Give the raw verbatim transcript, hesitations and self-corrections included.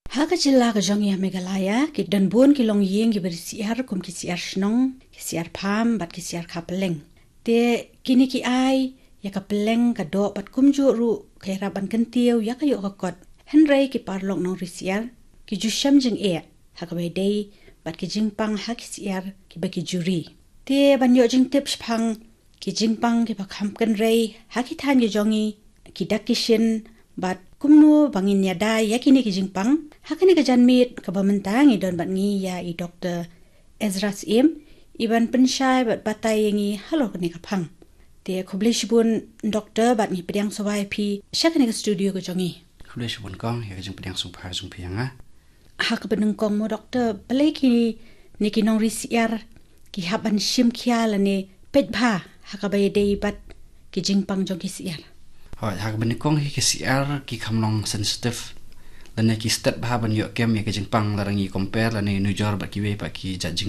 Ha ka jylla ka jong ngi ha Meghalaya, ki don bun ki longïing kiba ri syiar kum ki syiar shnong, ki syiar pham, bad ki syiar kha pylleng. Te kine ki ai ïa ka pylleng ka doh bad kumjuh ruh ka ïarap ban kyntiew ïa ka ïoh ka kot. Hynrei ki paralok nongri syiar ki ju shem jingeh ha kaba ïadei bad ki jingpang ha ki syiar kiba ki ju ri. Te ban ïoh jingtip shaphang ki jingpang kiba kham kynrei ha ki thaiñ ki jong ngi, ki dak ki shin, bad kumno ba ngin ïada ïa kine ki jingpang, ha kane ka janmiet kaba mynta ngi don bad ngi ïa i Doktor Ezra Syiem, i ban pynshai bad batai ïa ngi halor kane ka phang. Te khublei shibun Doktor, bad ngi pdiang sngewbha ïa phi sha kane ka studio ka jong ngi. Khublei shibun kong ïa ka jingpdiang sngewbha jong phi ïa nga. Ha kaba nyngkong mo Doktor, balei kine ki nongri syiar ki hap ban shim khia lane peit bha ha kaba ïadei bad ki jingpang jong ki syiar? Hooid, ha kaba nyngkong hi ki syiar ki kham long sensitive lane ki stet bha ban ïoh kem ïa ka jingpang lada ngi compare lane nujor bad kiwei pat ki jait